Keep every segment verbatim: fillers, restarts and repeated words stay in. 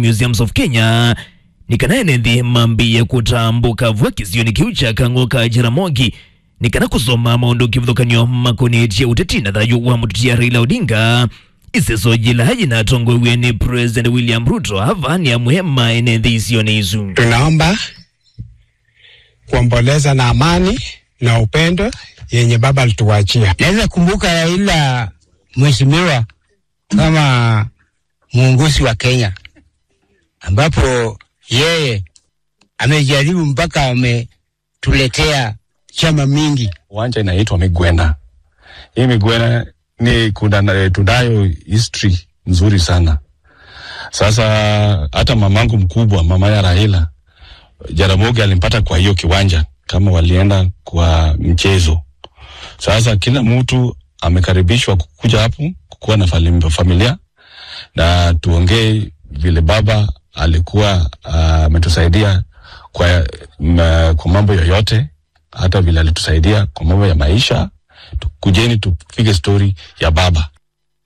Museums of Kenya, nĩ kana ene nthĩ mambĩĩe kũtambũka vua kĩsionĩ kĩu kya Kang'o ka Jaramogi, nĩ kana kũsoma maũndũ kĩvathũkany'o makonetye ũteti na thayũ wa mũteti Raila Odinga. Ĩseso yĩla yĩnatongoew'e nĩ President William Ruto, ava nĩ amwe ma ene nthĩ isionĩ isu. Tunaomba kuomboleza na amani na upendo yenye baba alituachia. Naweza kumbuka Raila, mheshimiwa, kama muongozi wa Kenya, ambapo yeye amejaribu mpaka ametuletea chama mingi. Uwanja inaitwa Migwena. Hii Migwena ni kuna, tunayo history nzuri sana. Sasa hata mamangu mkubwa, mama ya Raila, Jaramogi alimpata kwa hiyo kiwanja kama walienda kwa mchezo. Sasa kila mtu amekaribishwa kukuja hapo, kukuwa na fali-, familia, na tuongee vile baba alikuwa, ah, ametusaidia kwa, ma-, kwa mambo yoyote, hata vile alitusaidia kwa mambo ya maisha. Tu-, kujeni tupige story ya baba.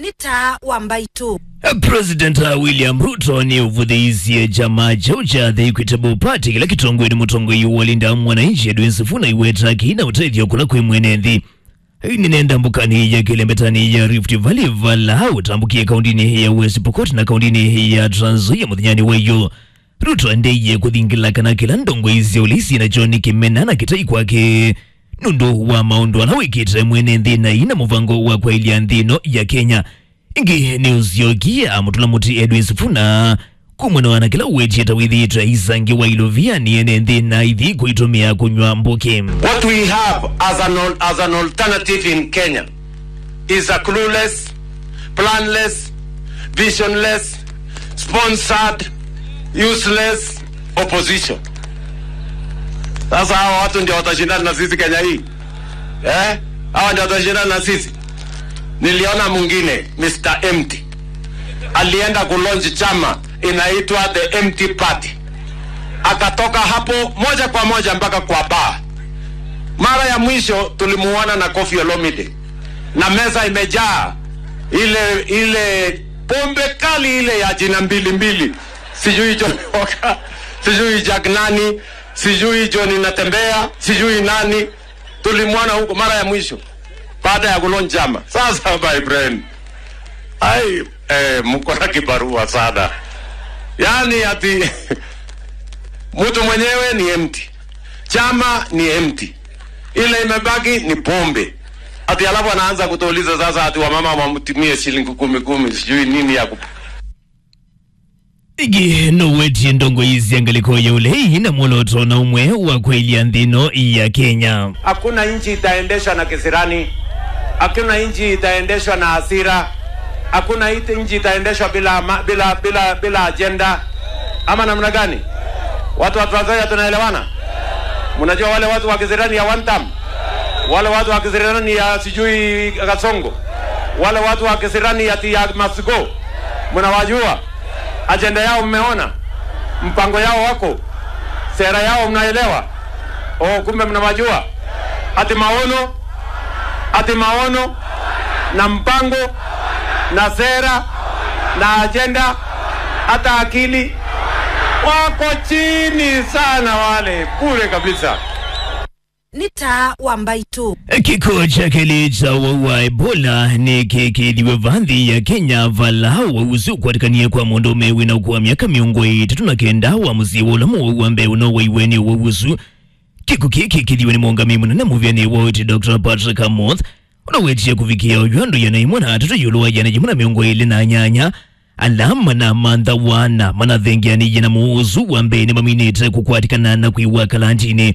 Nĩ taa wa mbaitũ. President William Ruto nĩ ũvũthĩisye kyama kyaũ kya The Equitable Party kĩla kĩtongoew'e nĩ mũtongoi wa Linda Mwananchi Edwin Sifuna iweta kĩina ũtethyo kũla kwĩ mwene nthĩ. Nĩnenda mbũkanĩ ya kĩlembetanĩ ya Rift Valley vala ũtambũkie kaũndĩnĩ ya West Pokot na kaũndĩnĩ ya Trans Nzoia mũthenyanĩ wa ĩyoo. Ruto endeeie kũthingĩla kana kĩla ndongoi sya ũlei syĩ nakyo nĩ kĩmena na kĩtai kwake nũndũ wa maũndũ ala wĩkĩte mwene nthĩ na ina mũvango wa kwaĩlya nthĩ ĩno ya Kenya. Ĩngĩ nĩ ũsyokie amũtũla mũtĩ Edwin Sifuna kumana na kĩla ũwetie ta wĩthĩĩtwe aisangĩwa ilovia nĩ ene nthĩ na aithi kũitũmĩa kũnyw'a mbũkĩ. What we have as an al-, as an alternative in Kenya is a clueless, planless, visionless, sponsored, useless opposition. Sasa hawa watu ndio watashindana na sisi Kenya hii? Eh? Hawa ndio watashindana na sisi? Niliona mwingine, Mister Empty, alienda kulaunch chama inaitwa The Empty Party. Akatoka hapo moja kwa moja mpaka kwa bar. Mara ya mwisho tulimuona na Koffi Olomide na meza imejaa ile, ile pombe kali ile ya jina mbili mbili, sijui Johnny Walker, sijui Jack nani, sijui Johnny Natembea, sijui nani. Tulimwona huko mara ya mwisho baada ya kulaunch chama. Sasa, my friend, ai, eh, mko na kibarua sana. Yaani ati mtu mwenyewe ni empty. Chama ni empty. Ile imebaki ni pombe. Ati alafu anaanza kutuuliza sasa ati wamama wamtumie shilingi kumi kumi, sijui nini ya kup- Ĩngĩ nũwetie ndongoi sya ngalĩko ya ũlei na mwolooto na ũmwe wa kwaĩlya nthĩ ĩno ya Kenya. Hakuna nchi itaendeshwa na kisirani. Hakuna nchi itaendeshwa na hasira. Hakuna ita-, nchi itaendeshwa bila ma-, bila, bila, bila ajenda. Ama namna gani? Watu wa Trans Nzoia tunaelewana? Mnajua wale watu wa kisirani ya one term? Wale watu wa kisirani ya sijui Kasongo? Wale watu wa kisirani ya, ya must go? Mnawajua? Ajenda yao mmeona? Mpango yao wako? Sera yao mnaelewa? Oh, kumbe mnawajua. Ati maono, ati maono na mpango na sera na ajenda, hata akili wako chini sana wale, bure kabisa. Nĩ taa wa mbaitũ. Kĩko kya kelĩ kya ũwau wa Ebola nĩkĩkĩĩthiwe va nthĩ ya Kenya, vala ũwau ũsu ũkwatĩkanie kwa mũndũũme wĩna ũkũũ wa myaka mĩongo ĩtatũ na kenda wa mũsyĩ wa ũla mũwau wa mbee ũnowaiwe nĩ ũwau ũsu. Kĩko kĩĩ kĩkĩthiwe nĩ mũũngamĩi mũnene mũvĩanĩ wa ũiiti, Doctor Patrick Amoth, ũla wetie kũvikĩa oyu andũ ĩana ĩmwe na atatũ ĩũlũ wa ĩana yĩmwe na mĩongo ĩlĩ na nyanya ala manamanthawa na manathengeanĩie na mũwau ũsu wa mbee nĩmaminĩte kũkwatĩkana na kwĩw'a kalantinĩ.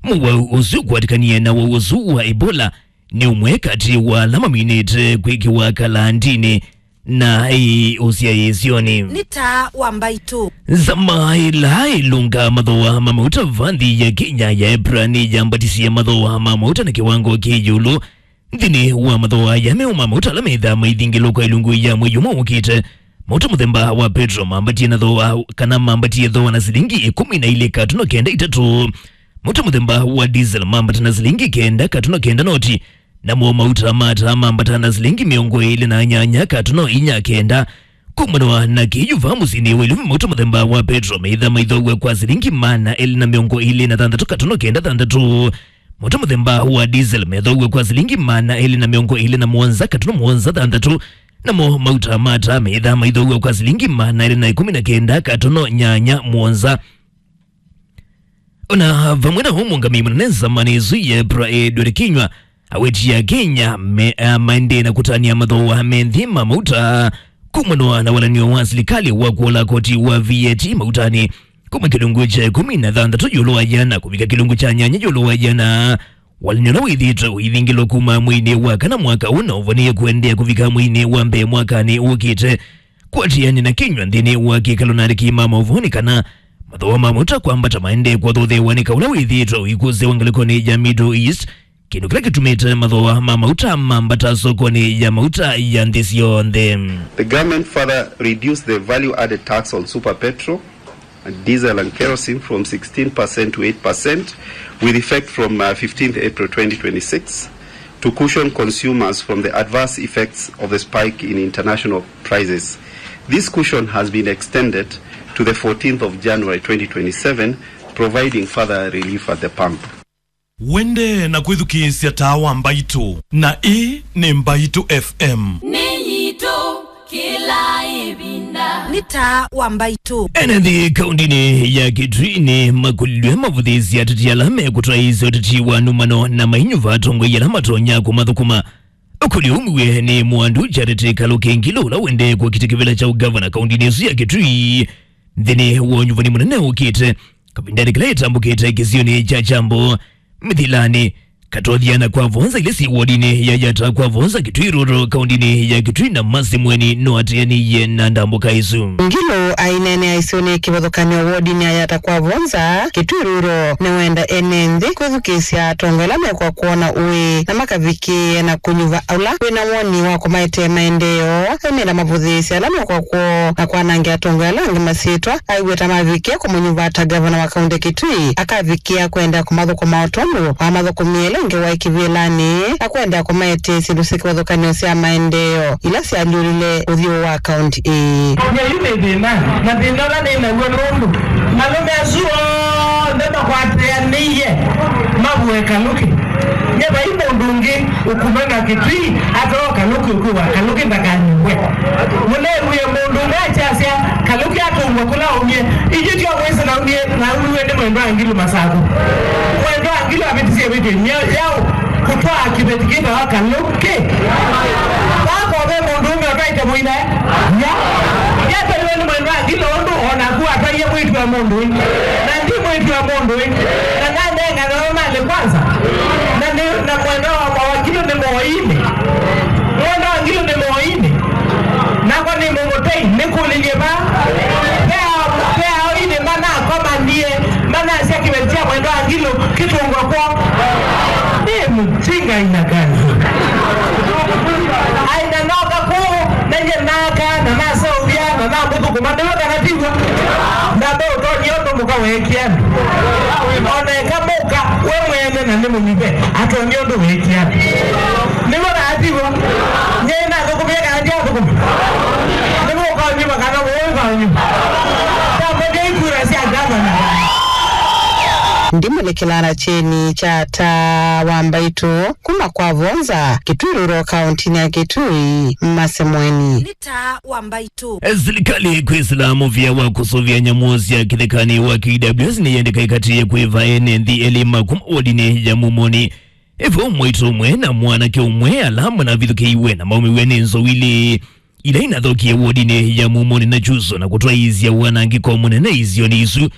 Mũwau ũsu ũkwatĩkanie na ũwau ũsu wa Ebola nĩ ũmwe katĩ wa ala maminĩte kwĩkĩwa kalantinĩ na ĩ ũsyaĩĩsyonĩ. Nĩ taa wa mbaitũ. Nzama ĩla ĩlũngaa mathooa ma mauta va nthĩ ya Kenya ya EPRA nĩyambatisye mathooa ma mauta na kĩwango kĩ ĩũlũ. Nthĩnĩ wa mathooa aya meũ ma mauta ala methaa maithingĩlwa kwa ilungu ya mwei ũmwe ũkĩte, mauta mũthemba wa petro mambatie na thooa, kana mambatie thooa na silingi ĩkũmi na ilĩ katuno kenda itatũ. Mauta mũthemba wa diesel mambata na silingi kenda katuno kenda noti, namo mauta ma taa mambata na silingi mĩongo ĩlĩ na nyanya katuno inya kenda. Kumana na kĩu, vaa mũsyĩnĩ wa Ilovi, mauta mũthemba wa petro meĩthaa maithoaw'a kwa silingi maana elĩ na mĩongo ĩlĩ na thanthatũ katono kenda thanthatũ. Mauta mũthemba wa diesel meĩthoaw'a kwa silingi maana elĩ na mĩongo ĩlĩ na mũonza katono mũonza thanthatũ. Namo mauta ma taa meĩthaa maithoaw'a kwa silingi maana elĩ na ĩkũmi na kenda katono nyanya mũonza. O na vamwe na ũu, mũũngamĩi mũnene nzamanĩ ĩsu ya EPRA, Edward Kinyua, awetie Akenya me, a, maendee na kũtanĩa mathooa me nthĩ ma mauta kumana na walany'o wa silikalĩ wa kũola koti wa V A T mautanĩ kuma kĩlungu kya ĩkũmi na thanthatũ ĩũlũ wa ĩana kũvika kĩlungu kya nyanya ĩũlũ wa ĩana, walany'o ũla wĩthĩĩtwe ũivingĩlwa kuma mweinĩ wa kana mwaka ũũ na ũvonie kũendeea kũvika mweinĩ wa mbee mwakanĩ ũkĩte. Kũatĩanĩa na Kinyua nthĩnĩ wa kĩkalo na andĩki ma maũvoo nĩ kana mathooa ma mauta kwambata maendee kũathothewa nĩ kaũ ũla wĩthĩĩtwe ũikũsĩwa ngalĩkonĩ ya Middle East, kĩndũ kĩla kĩtumĩte mathooa ma mauta mambata sokonĩ ya mauta ya nthĩ syonthe. The government further reduced the value-added tax on super petrol, diesel and kerosene from sixteen percent to eight percent, with effect from, uh, fifteenth April twenty twenty-six, to cushion consumers from the adverse effects of the spike in international prices. This cushion has been extended to the fourteenth of January twenty twenty-seven, providing further relief at the pump. Wende na kwĩthukĩĩsya Taa wa Mbaitũ, na ĩĩ nĩ Mbaitũ F M. Nĩ yitũ kĩla ĩvinda. Nĩ Taa wa Mbaitũ. Ene nthĩ kaũndĩnĩ ya Kitui nĩmakũlilw'e mavũthĩĩsye ateti ala mekũtwaĩĩsya ũteti wa nũmano na mainyuva atongoi ala matonya kũmathũkũma. Ũkũlyo ũmwe nĩ Mwandu Charity Kaluki Ngilu, ũla wendee kũkita kĩvĩla kya ũgavana kaũndĩnĩ ĩsu ya Kitui nthĩnĩ wa ũnyuvani mũnene ũkĩte, kavindanĩ kala ĩtambũkĩte kĩsionĩ kya Kyambo, Mĩthilanĩ, Katũthya na Kwavonza, ila syĩ wodinĩ ya Yata Kwavonza, Kitui Rural, kaũndĩnĩ ya Kitui, na Mercy Mweni no ateanĩie na ndambũka ĩsu. Ngilu aineenea isionĩ kĩvathũkany'o wodinĩ ya Yata Kwavonza, Kitui Rural, nĩwenda ene nthĩ kwĩthukĩĩsya atongoi ala mekwa kwona ũĩ na makavikĩĩe na kũnyuva ũla wĩna woni wa kũmaetee maendeeo. Aumĩla mavũthĩĩsya ala mekwa kwoo na kwanangĩa atongoi ala angĩ masyĩtwa, aiw'a ta mavikĩe kũmũnyuva ta ngavana wa kaũntĩ Kitui, akavikĩa kũendeea kũmathũkũma o tondũ wamathũkũmie ĩla ĩngĩ waĩ kĩvĩlanĩ, na kũendeea kũmaetee syĩndũ syĩ kĩvathũkany'o sya maendeeo ila syalyũlile ũthyũ wa kaũntĩ ĩĩ. Nyie yu nĩ thĩna, na thĩna ũla nĩ naw'o nũndũ malũme asu onthe makwatĩanĩie mavũe Kaluki. Nyie vai mũndũ ũngĩ ũkumana Kitui atoo Kaluki ũkwĩwa Kaluki ndakanyuwe. Mũneewie mũndũ ũmwe akyasya Kaluki atũngwa kũla aumie. Ĩngĩ tyo mwĩsĩ naumie, naumiwe nĩ Mwendwa Ngilu Masaku. Mwendwa Ngilu avĩtisye ĩvĩtyo ĩmwe yaũ kũtwaa kĩveti kĩtawa Kaluki. Vaa ko ve mũndũ ũmwe ũtwaĩte mũinae? Ya. Yatwaiwe nĩ Mwendwa Ngilu ũndũ o naku watwaie mwĩĩtu wa mũndũ ũĩ. Na ndi mwĩĩtu wa mũndũ ũĩ. Na nanenga nawe malĩ kwanza. Na nĩ, na Mwendwa wa Mawakili nĩ moinĩ. Mwendwa Ngilu nĩ moinĩ. Nakwa nĩ mũmũtei, nĩkũlilye va. Ve ao, ve aoinĩ manakomanie, manasya kĩveti kya Mwendwa Ngilu kĩtũngwa kwoo. Nĩ mũtinga aina gani? Aina noka kũu, na nyie naka, na naseũvya, na namũthũkũma, nĩw'o kana tiw'o? Ndambe ũtonya ũndũ mũka weekie andũ. O na eka mũka, we mwene na nĩ mũnyuve, atonya ũndũ weekie andũ. Nĩw'o kana tiw'o? Nyie nathũkũmie kana ndiathũkũma? Nĩw'o ũkanyuva kana wũĩ ũkanyuva? Ndamũkei kura sya ngavana. Ndimũlikĩla na kyeni kya Taa wa Mbaitũ kuma Kwavonza, Kitui Rural, kaũntĩnĩ ya Kitui, Mercy Mweni. Nĩ Taa wa Mbaitũ. Silikalĩ kwĩsĩla mũvĩa wa kũsũvĩa nyamũ sya kĩthekanĩ wa K W S nĩyendeka ĩkatĩĩe kwĩva ene nthĩ elĩ ma kuma wodinĩ ya Mumoni. Ĩvo mwaitũ ũmwe na mwanake ũmwe ala manavithũkĩiwe na maumĩw'e nĩ nzou ilĩ ila inathokie wodinĩ ya Mumoni na Chuso na kũtwaĩĩsya wanangĩko mũnene isionĩ isu.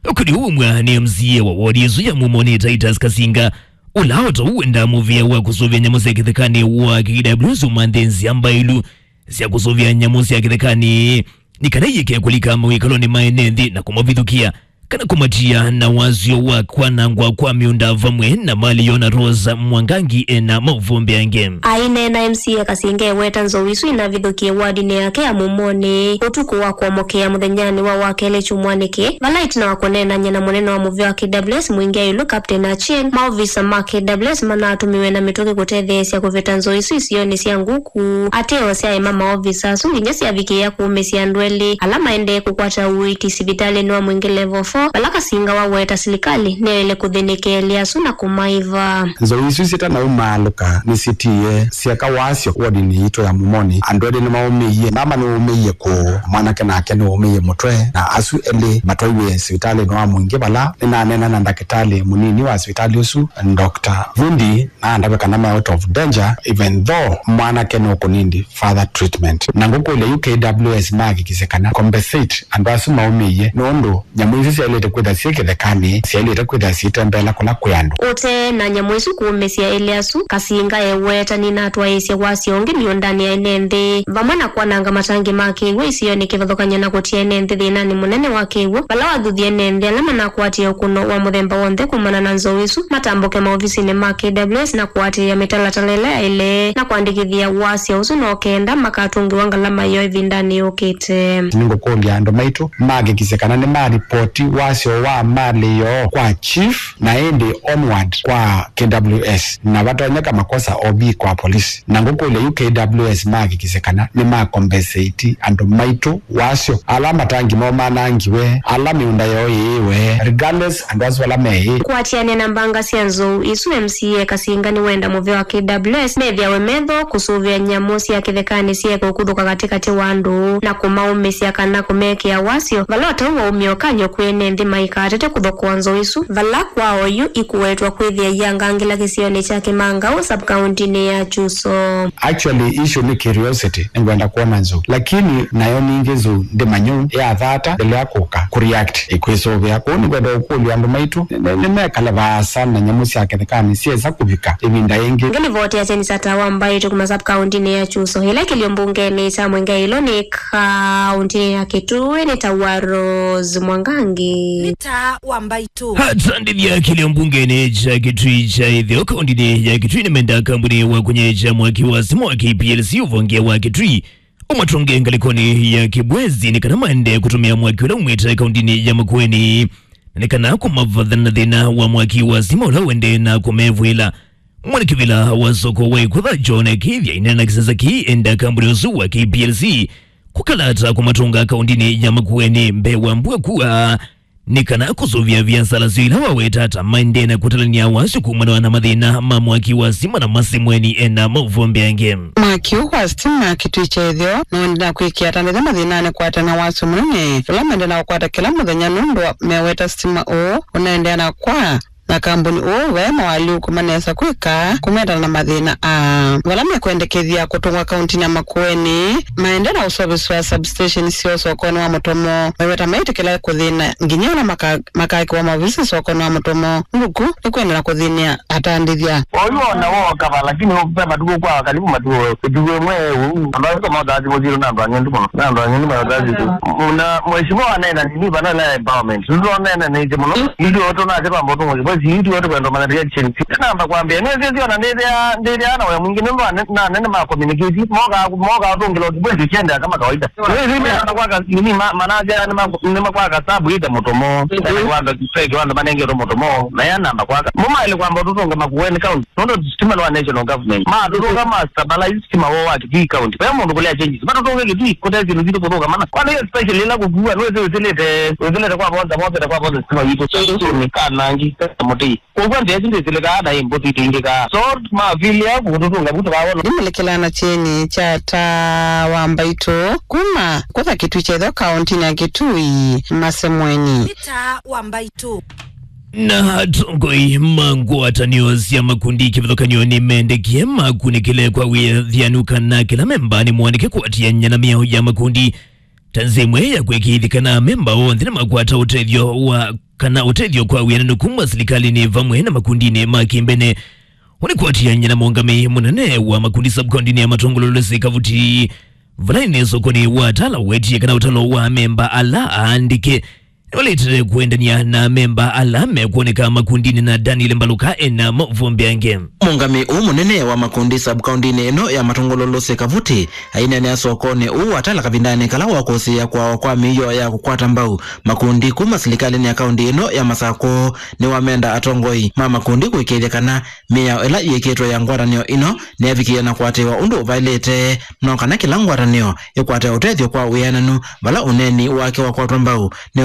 Ũkũlyo ũũ umw'a nĩ M C A wa wodi ĩsu ya Mumoni, Titus Kasinga, ũla o ta ũu wendaa mũvĩa wa kũsũvĩa nyamũ sya kĩthekanĩ wa K W S ũmanthe nzĩa mbaĩlu sya kũsũvĩa nyamũ sya kĩthekanĩ nĩ kana ieke kũlika mawĩkalonĩ ma ene nthĩ na kũmavithũkĩa. kana kũmatia na wasyo wa kwanangwa kwa mĩũnda vamwe na mali yoo. Na Rose Mwangangi ena maũvoo mbeange. Aineena M C A Kasinga eweta nzou isu inavithũkie wardinĩ yake ya Mumoni ũtukũ wa kũamũkĩa mũthenyanĩ wa wakelĩ kyumwanĩ kĩĩ, vala ĩtina wa kũneenany'a na mũnene wa mũvĩa wa K W S Mwingi Ayulu, Captain Achieng', maovisa ma K W S manatũmiwe na mĩtũkĩ kũtetheesya kũvĩta nzou isu isionĩ sya Nguku. Ateo syaema maovisa asu nginya syavikĩĩa kũũmĩsya andũ elĩ ala maendee kũkwata ũiiti sivitalĩnĩ wa Mwingi Level four, vala Kasinga waweta silikalĩ nĩyaĩle kũthĩnĩkĩa elĩ asu na kũmaĩva. Nzou isu syĩtanaumaalũka nĩsyĩtiie syeka wasyo wodinĩ yitũ ya Mumoni. Andũ elĩ nĩmaũmĩie, mama nĩwaũmĩie kũũ, mwanake nake nĩwaũmĩie mũtwe, na asu elĩ matwaiwe sivitalĩnĩ wa Mwingi vala nĩnaneena na ndakĩtalĩ mũnini wa sivitalĩ ũsu, Doctor Vundi, na andavya kana me out of danger, even though mwanake nũkũnindi further treatment. Na ngũkũlya yu K W S mahakikisye kana compensate andũ asu maũmĩie, nũndũ nyamũ isu syaĩlĩte kwĩtha syĩ kĩthekanĩ, syaĩlĩte kwĩtha syĩtembeela kũla kwĩ andũ. Ũte na nyamũ isu kũũmĩsya elĩ asu, Kasinga eweta nĩnatwaĩĩsye wasyo ũngĩ mĩũndanĩ ya ene nthĩ, vamwe na kwananga matangi ma kĩw'ũ isionĩ kĩvathũkany'o na kũtia ene nthĩ thĩnanĩ mũnene wa kĩw'ũ, vala wathuthie ene nthĩ ala manakwatie ũkũno wa mũthemba w'onthe kumana na nzou isu matambũke maovisinĩ ma K W S na kũatĩĩa mĩtalatala ĩla yaĩle na kũandĩkĩthya wasyo ũsu no kenda makatũngĩwa ngalama yoo ĩvindanĩ yũkĩte. Nĩngũkũlya andũ maitũ mahakikisye kana nĩmaripoti wasyo wa mali yoo kwa chief na ĩndĩ onward kwa K W S, na vatonyeka makosa O B kwa polisi. Na ngũkũlya yu K W S mahakikisye kana nĩmakombesĩti andũ maitũ wasyo, ala matangi moo manangiwe, ala mĩũnda yoo yĩĩwe, regardless andũ asu ala meĩ. Kũatĩanĩa na mbanga sya nzou isu, M C A Kasinga nĩwenda mũvĩa wa K W S methĩawe metho kũsũvĩa nyamũ sya kĩthekanĩ syĩeke ũkuthũka katĩkatĩ wa andũ na kũmaũmĩsya kana kũmekĩa wasyo, vala ũtau waumya ũkany'o kwĩ ene nthĩ maikatete kũthokea nzou isu, vala kwa oyu ikũwetwa kwĩthĩa iangangĩla kĩsionĩ kya Kĩmangau, sub-kauntinĩ ya Kyuso. Actually, issue nĩ curiosity, nĩngwenda kwona nzou. Lakini nayo ningĩ nzou ndĩmanyũ yathata mbele ya kũka kũreact, ĩkwĩsũvĩa. Kwoou nĩngwenda ũkũlya andũ maitũ nĩ- nĩ- nĩmekale vaasa na nyamũ sya kĩthekanĩ syesa kũvika ĩvinda yĩngĩ. Ngĩlivoti ya Jenny Sata wa Mbaitũ kuma sub-kauntinĩ ya Kyuso, ĩla kĩlio mbungenĩ kya Mwingi Ayulu nĩ kauntinĩ ya Kitui, nĩ ta wa Rose Mwangangi. Nĩ ta wa Mbaitũ. Atandĩthya kĩlio mbungenĩ kya Kitui kya Ĩtheo kauntinĩ ya Kitui nĩmenda kambuni wa kũnyeja mwaki wa stima wa K P L C ũvonge wa Kitui ũmatũnge ngalĩkonĩ ya Kibwezi nĩ kana maendee kũtũmĩa mwaki ũla umĩte kauntinĩ ya Makueni, na nĩ kana kũmavatha na thĩna wa mwaki wa stima ũla ũendee na kũmevw'ĩla. Mwene kĩvĩla wa soko wa Ĩkũtha John Kĩthya aineena na kĩsasa kĩĩ enda kambuni ũsu wa K P L C kũkalata kũmatũnga kauntinĩ ya Makueni mbee wa mbua kua nĩ kana kũsũvĩa viasala syoo ila waweta ta maendee na kũtalany'a wasyo kumana na mathĩna ma mwaki wa stima na Masemweni ena maũvoo mbeange. Mwaki ũũ wa stima Kitui kya Ĩtheo nũendee na kwĩkĩa atandĩthya mathĩnanĩ kwatana na wasyo mũnene ũla maendee na kũkwata kĩla mũthenya nũndũ wa meweta stima ũũ ũnaendea na kwa na kambuni ũũ ve mawaalyũku manesa kwĩka kũmetana na mathĩna aa. Vala mekwendekethya kũtũngwa kauntinĩ ya Makueni, maendee na ũseũvĩsya substation syoo sokonĩ wa Mũtomo, meweta maitĩkĩla kũthĩna nginya ĩla maka- makaĩkĩwa maovisi sokonĩ wa Mũtomo. Nduku nĩkwenda na kũthĩnĩa atandĩthya. Oyu ona wooka va, lakini ve matukũ kwa karibu matukũ, ĩtukũ ĩmwe ũu, andũ asu mothaa simũ sitũ na andũ ang'endu mũno, na andũ ang'endu mayotaa sitũ. Na mheshimiwa aneena nini vana na empowerment. Sisi tũneena nĩkĩ mũno. Ithuĩ tũnasya twamba ũtũngwa kĩbosi, ithuĩ tũkwenda kũmanya reaction. Namba kwambĩa, nĩsĩsĩ ona ndĩthĩa, ndĩthĩa na wĩa mwingĩ, nũndũ ane- na anene ma communicate, moka, moka ũtũngĩla kĩbosi kiendea kama kawaida. Nĩsĩsĩ namba kwaka, nini, ma- manasya nĩma- nĩmakwaka sabu ĩte Mũtomo, na kwaka fake wanda manengetwe Mũtomo, na ya namba kwaka. Mũmaĩle kwamba ũtũtũnga Makueni County, nũndũ stima nĩ wa national government. Matũtũnga ma stabilize stima woo wa Kitui County. Ve mũndũ kũlea changes. Matũtũnge Kitui, kũte syĩndũ sitũ kũthũka mana. Kwana hiyo special ĩla kũkua, nĩwĩsĩ wĩsĩlĩte, wĩsĩlĩte kwa bonza, bonza, kwa bonza stima witũ. Sio nĩ kanangi, mũtĩ. Kwoou nthĩ ĩsu ndĩsĩlĩkaa na ĩ mbũti ĩtĩingĩkaa. So, mavilia kũtũtũnga vu tũkawona. Ndimũlĩkĩlaa na kyeni kya Taa wa Mbaitũ kuma Ĩkũtha Kitui kya Ĩtheo kauntinĩ ya Kitui, Masemweni. Nĩ Taa wa Mbaitũ. Na atongoi ma ngwatanĩo sya makundi kĩvathũkany'o nĩmendekie makunĩkĩle kwa wĩthianu kana kĩla memba nĩ mũandĩke kũatĩanĩa na mĩao ya makundi ta nzĩa ĩmwe ya kwĩkĩĩthya kana amemba onthe nĩmakwata ũtethyo wa, kana ũtethyo kwa wĩananu kuma silikalĩnĩ vamwe na makundinĩ ma kĩmbene. Ũnĩ kũatĩanĩa na mũũngamĩi mũnene wa makundi sub-kauntinĩ ya Matũngũlũ Lucy Kavuti, vala ĩnĩ sokonĩ wa Tala wetie kana ũtalo wa amemba ala aandĩke Nũlĩtĩte kũendany'a na amemba ala mekwoneka makundinĩ na Daniel Mbaluka ena maũvoo mbeange. Mũũngamĩi ũũ mũnene wa makundi sub-kaũndĩnĩ ĩno ya Matũngũlũ Lucy Kavuti aineenea sokonĩ ũũ wa Tala kavindanĩ kala wa kũsĩĩa kwawa kwa mĩio ya kũkwata mbau makundi kuma silikalĩnĩ ya kaũndĩ ĩno ya Masakũ nĩwamenda atongoi ma makundi kũĩkĩĩthya kana mĩao ĩla yĩkĩtwe ya ngwatanĩo ĩno nĩyavikĩie na kũatĩĩwa ũndũ ũvaĩlĩte, no kana kĩla ngwatanĩo ĩkwate ũtethyo kwa wĩananu vala ũneeni wake wakwatwa mbau nĩ